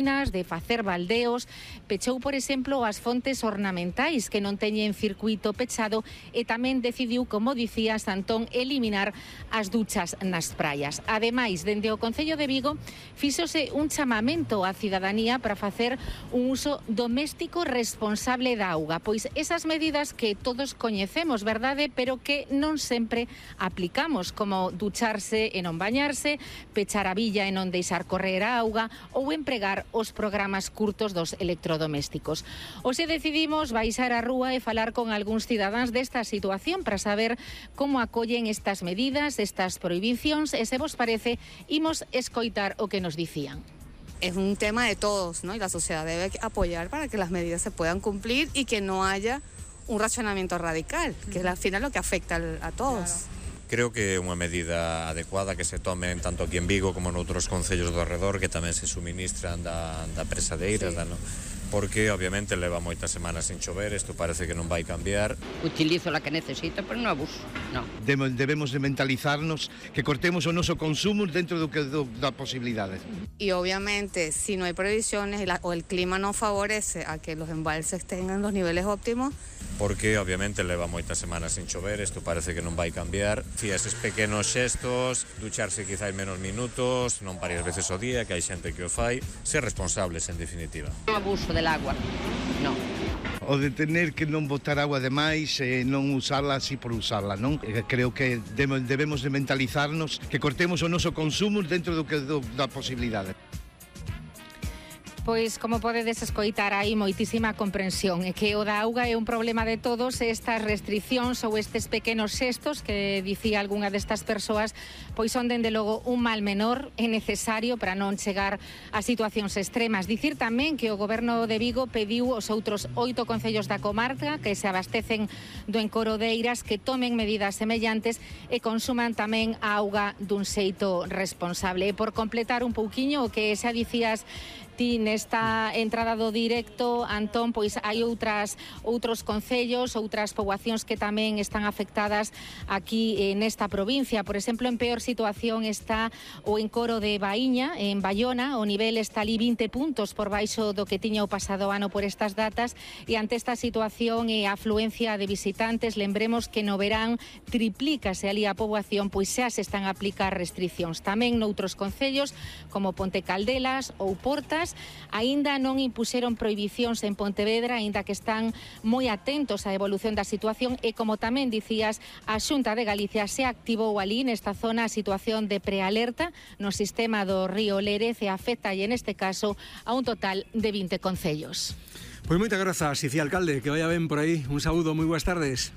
de facer baldeos, pechou, por exemplo, as fontes ornamentais que non teñen circuito pechado e tamén decidiu, como dicía Santón, eliminar as duchas nas praias. Ademais, dende o Concello de Vigo, fíxose un chamamento á cidadanía para facer un uso doméstico responsable da auga, pois esas medidas que todos coñecemos, verdade, pero que non sempre aplicamos, como ducharse e non bañarse, pechar a billa e non deixar correr a auga ou empregar os programas curtos dos electrodomésticos. Hoxe decidimos baixar á rúa e falar con algúns cidadáns desta situación para saber como acollen estas medidas, estas prohibicións e, se vos parece, imos escoitar o que nos dicían. Es un tema de todos, ¿no? Y la sociedad debe apoyar para que las medidas se puedan cumplir y que no haya un racionamiento radical, que es al final lo que afecta a todos. Claro. Creo que é unha medida adecuada que se tomen tanto aquí en Vigo como noutros concellos do arredor que tamén se suministran da presadeira, sí. Porque obviamente leva moitas semanas sin chover, isto parece que non vai cambiar. Utilizo la que necesito, pero non abuso, non. Debemos de mentalizarnos que cortemos o noso consumo dentro da posibilidade. Y obviamente, si no hay previsiones o el clima no favorece a que los embalses tengan los niveles óptimos, porque obviamente leva moitas semanas sin chover, isto parece que non vai cambiar. Si eses pequenos xestos, ducharse quizá en menos minutos, non varias veces ao día, que hai xente que o fai, ser responsables en definitiva. Non abuso del agua, non. O de tener que non botar agua de máis e non usarla así por usarla, non? Creo que debemos de mentalizarnos que cortemos o noso consumo dentro da posibilidade. Pois, como podedes escoitar, hai moitísima comprensión e que o da auga é un problema de todos e estas restriccións ou estes pequenos xestos que dicía algunha destas persoas pois son dende logo un mal menor e necesario para non chegar a situacións extremas. Dicir tamén que o Goberno de Vigo pediu aos outros 8 concellos da comarca que se abastecen do encoro de Eiras que tomen medidas semellantes e consuman tamén a auga dun xeito responsable. E por completar un pouquiño o que xa dicías ti nesta entrada do directo, Antón, pois hai outros concellos, outras poboacións que tamén están afectadas aquí nesta provincia. Por exemplo, en peor situación está o encoro de Baíña, en Baiona, o nivel está ali 20 puntos por baixo do que tiña o pasado ano por estas datas, e ante esta situación e a afluencia de visitantes, lembremos que no verán triplícase ali a poboación, pois xa se están a aplicar restriccións. Tamén noutros concellos, como Ponte Caldelas ou Portas, aínda non impuxeron prohibicións en Pontevedra, aínda que están moi atentos á evolución da situación e, como tamén dicías, a Xunta de Galicia se activou ali nesta zona a situación de prealerta no sistema do río Lérez e afecta, e neste caso, a un total de 20 concellos. Pois moitas grazas, Icía Alcalde, que vaya ben por aí. Un saúdo, moi boas tardes.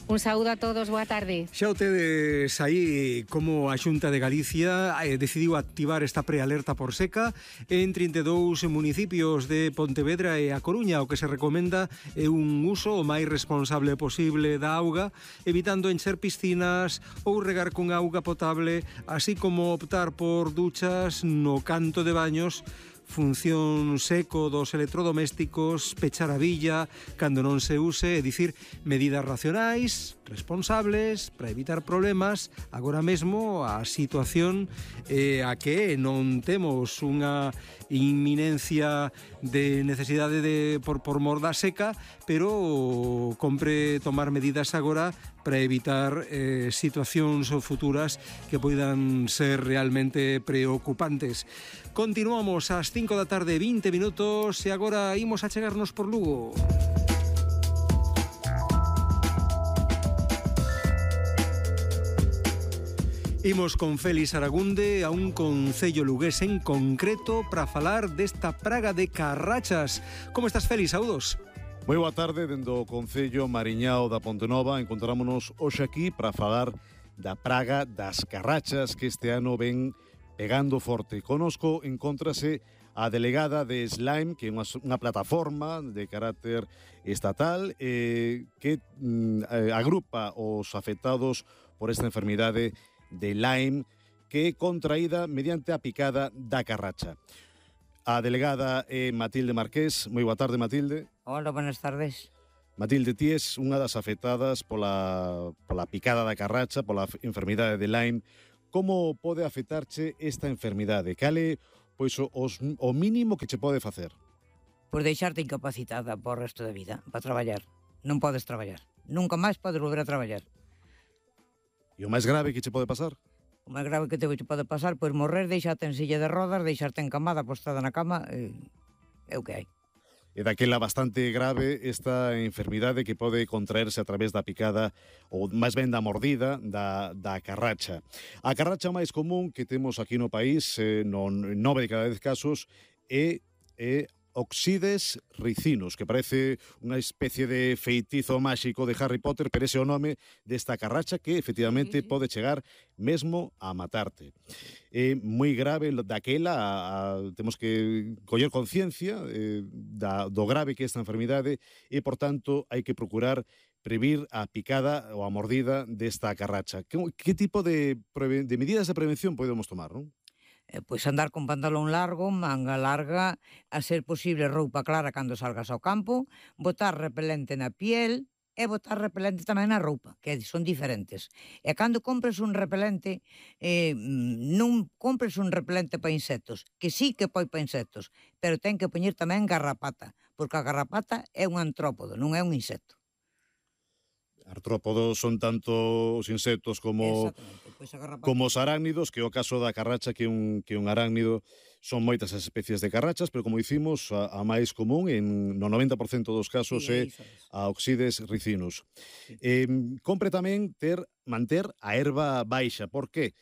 Un saúdo a todos, boa tarde. Xa o tedes aí como a Xunta de Galicia decidiu activar esta prealerta por seca en 32 municipios de Pontevedra e A Coruña. O que se recomenda é un uso o máis responsable posible da auga, evitando encher piscinas ou regar con auga potable, así como optar por duchas no canto de baños, función seco dos electrodomésticos, pechar a billa cando non se use, é dicir, medidas racionais, responsables, para evitar problemas. Agora mesmo a situación a que non temos unha inminencia de necesidade por mor da seca, pero compre tomar medidas agora para evitar situacións futuras que poidan ser realmente preocupantes. Continuamos ás 5 da tarde, 20 minutos, e agora imos a chegarnos por Lugo. Imos con Félix Aragunde a un concello lugués en concreto para falar desta praga de carrachas. Como estás, Félix? Saúdos. Moi boa tarde, dende o Concello Mariñao da Pontenova. Encontrámonos hoxe aquí para falar da praga das carrachas que este ano ven pegando forte. Conosco encontrase a delegada de Slime, que é unha plataforma de carácter estatal que agrupa os afectados por esta enfermidade de Lyme, que é contraída mediante a picada da carracha. A delegada é Matilde Marqués. Moi boa tarde, Matilde. Hola, buenas tardes. Matilde, ti és unha das afectadas pola picada da carracha, pola enfermidade de Lyme. Como pode afectarche esta enfermidade? Cal é pois o mínimo que che pode facer? Pois deixarte incapacitada por o resto da vida, para traballar. Non podes traballar. Nunca máis podes volver a traballar. E o máis grave que che pode pasar? O máis grave que te pode pasar, pois morrer, deixarte en silla de rodas, deixarte encamada, postada na cama, é o que hai. E daquela bastante grave esta enfermidade que pode contraerse a través da picada ou máis ben da mordida da carracha. A carracha máis común que temos aquí no país, no 9 de cada 10 casos, é Oxides ricinus, que parece unha especie de feitizo máxico de Harry Potter, pero ese é o nome desta carracha que efectivamente pode chegar mesmo a matarte. É moi grave daquela, temos que coller conciencia do grave que é esta enfermidade e, por tanto, hai que procurar previr a picada ou a mordida desta carracha. Que tipo de medidas de prevención podemos tomar, non? Pois andar con pantalón largo, manga larga, a ser posible roupa clara cando salgas ao campo, botar repelente na piel e botar repelente tamén na roupa, que son diferentes. E cando compres un repelente, non compres un repelente para insectos, que sí que poi para insectos, pero ten que poñer tamén garrapata, porque a garrapata é un antrópodo, non é un insecto. Artrópodos son tanto os insectos como os arácnidos, que é o caso da carracha, que é un arácnido. Son moitas as especies de carrachas, pero como dicimos, a máis común no 90% dos casos é a Oxides ricinus. Compre tamén manter a herba baixa. Por que?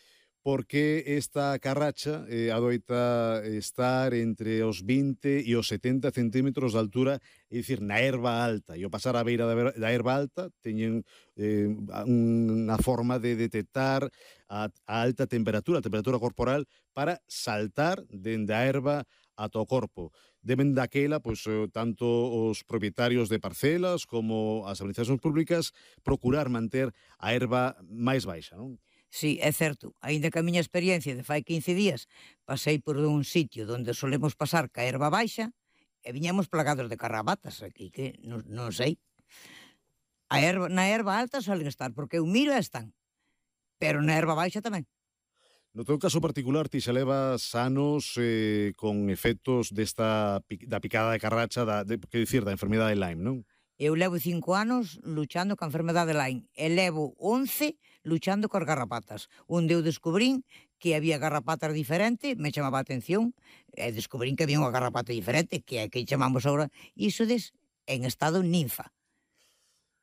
Porque esta carracha adoita estar entre os 20 e os 70 centímetros de altura, é dicir, na herba alta. E ao pasar a beira da herba alta teñen unha forma de detectar a alta temperatura, a temperatura corporal, para saltar dende a herba ata o corpo. Deben daquela, pois, tanto os propietarios de parcelas como as administracións públicas procurar manter a herba máis baixa, non? Sí, é certo. Aínda que a miña experiencia de fai 15 días pasei por un sitio onde solemos pasar ca erva baixa e viñamos plagados de carrabatas aquí, que non sei. Na erva alta solen estar, porque eu miro e están. Pero na erva baixa tamén. No teu caso particular, ti xa levas anos con efectos da picada de carracha, da enfermidade de Lyme, non? Eu levo 5 anos luchando ca enfermedade de Lyme e levo 11 luchando cos garrapatas. Onde eu descubrín que había garrapatas diferentes, me chamaba a atención, e descubrín que había unha garrapata diferente, que é que chamamos agora isodes en estado ninfa.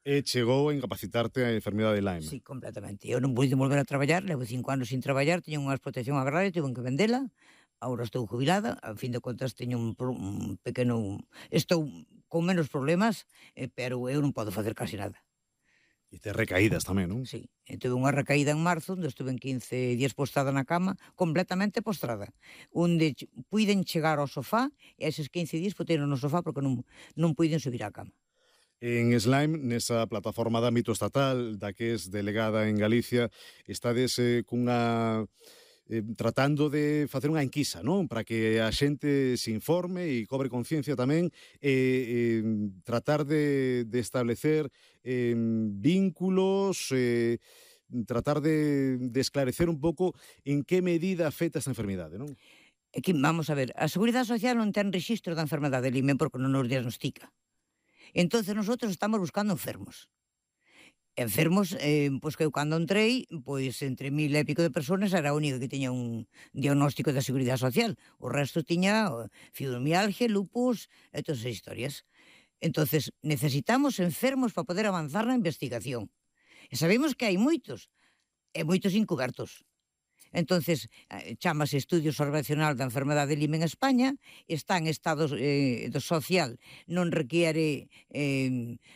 E chegou a incapacitarte a enfermidade de Lyme. Sí, completamente. Eu non pude volver a traballar, levo 5 anos sin traballar, teño unha explotación agraria, tuve que vendela, agora estou jubilada, a fin de contas teño un pequeno... Estou con menos problemas, pero eu non podo facer casi nada. E te recaídas tamén, non? Sí, tuve unha recaída en marzo, onde estuve en 15 días postrada na cama, completamente postrada, onde puiden chegar ao sofá, e eses 15 días puteron no sofá porque non puiden subir á cama. En Slime, nesa plataforma de ámbito estatal, da que es delegada en Galicia, estades cunha... tratando de facer unha enquisa, non? Para que a xente se informe e cobre conciencia tamén, tratar de establecer vínculos, tratar de esclarecer un pouco en que medida afecta esta enfermidade, non? Vamos a ver, a Seguridade Social non ten rexistro da enfermedade de Lyme porque non nos diagnostica. Entonces nosotros estamos buscando enfermos. Enfermos, pois que eu cando entrei, pois entre 1000 e pico de personas era a única que tiña un diagnóstico da Seguridade Social. O resto tiña fibromialgia, lupus e todas esas historias. Entonces necesitamos enfermos para poder avanzar na investigación. E sabemos que hai moitos, e moitos incubertos. Entonces, chamase Estudio Observacional da Enfermedade de Lyme en España, está en estado social, non requiere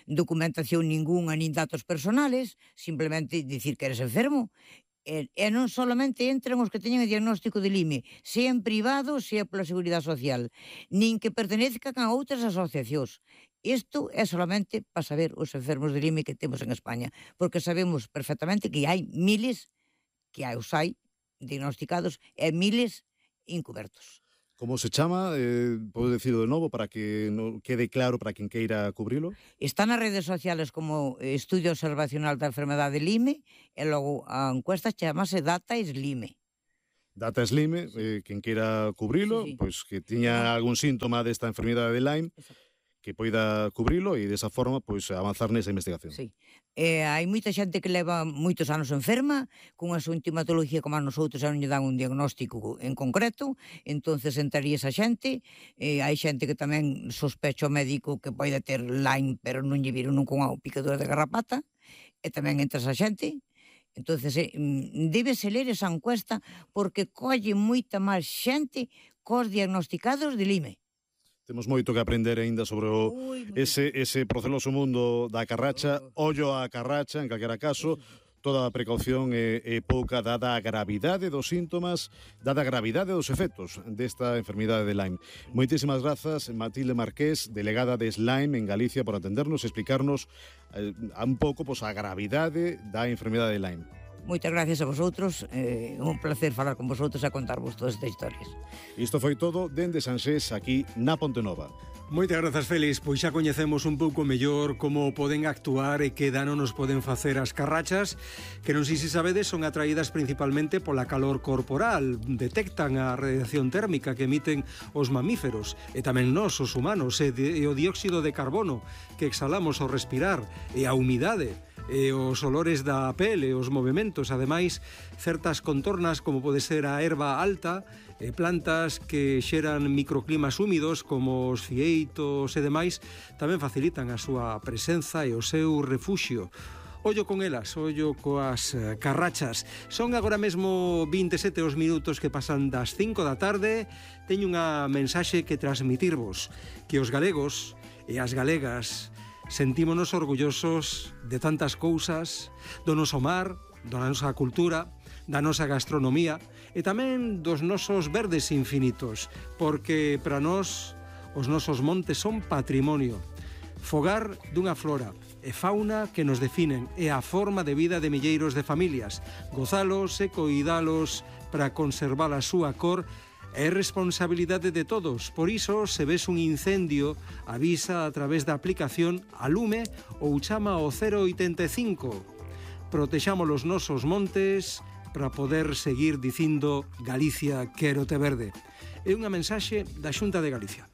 documentación ninguna nin datos personales, simplemente dicir que eres enfermo, e non solamente entran os que teñen o diagnóstico de Lyme, sea en privado, sea pola Seguridade Social, nin que pertenezcan a outras asociacións. Isto é solamente para saber os enfermos de Lyme que temos en España, porque sabemos perfectamente que hai miles, que os hai, diagnosticados e miles incubertos. Como se chama? Podo dicirlo de novo para que quede claro para quen queira cubrilo? Está nas redes sociales como Estudio Observacional da Enfermedade de Lyme e logo a encuesta chamase Data Lyme. Data Slime, quen queira cubrilo, pois que tiña algún síntoma desta enfermidade de Lyme, que poida cubrilo e desa forma pois avanzar nesa investigación. Sí. Hai moita xente que leva moitos anos enferma, cunha sintomatología como a nosotros, non lle dan un diagnóstico en concreto, entonces entraría esa xente. Hai xente que tamén sospecha o médico que pode ter Lyme, pero non lle viron nunca unha picadura de garrapata, e tamén entra esa xente. Entonces, débese ler esa encuesta porque colle moita máis xente cos diagnosticados de Lyme. Temos moito que aprender aínda sobre ese proceloso mundo da carracha. Ollo á carracha, en calquera caso, toda a precaución é pouca dada a gravidade dos síntomas, dada a gravidade dos efectos desta enfermidade de Lyme. Moitísimas grazas, Matilde Marqués, delegada de Lyme en Galicia, por atendernos e explicarnos un pouco a gravidade da enfermidade de Lyme. Moitas gracias a vosotros, un placer falar con vosotros e contarvos todas estas historias. Isto foi todo dende Sanxés, aquí na Pontenova. Moitas grazas, Félix. Pois xa coñecemos un pouco mellor como poden actuar e que dano nos poden facer as carrachas, que non sei se sabedes, son atraídas principalmente pola calor corporal. Detectan a radiación térmica que emiten os mamíferos e tamén nós, os humanos, e o dióxido de carbono que exhalamos ao respirar e a humidade e os olores da pele, os movementos, ademais, certas contornas como pode ser a erva alta, plantas que xeran microclimas húmidos como os fieitos e demais, tamén facilitan a súa presenza e o seu refuxio. Ollo con elas, ollo coas carrachas. Son agora mesmo 27 os minutos que pasan das 5 da tarde. Teño unha mensaxe que transmitirvos, que os galegos e as galegas sentímonos orgullosos de tantas cousas, do noso mar, da nosa cultura, da nosa gastronomía e tamén dos nosos verdes infinitos, porque para nós os nosos montes son patrimonio, fogar dunha flora e fauna que nos definen e a forma de vida de milleiros de familias. Gozalos e coidalos para conservar a súa cor é responsabilidade de todos. Por iso, se ves un incendio, avisa a través da aplicación Alume ou chama ao 085. Protexamos os nosos montes para poder seguir dicindo Galicia quérote verde. É unha mensaxe da Xunta de Galicia.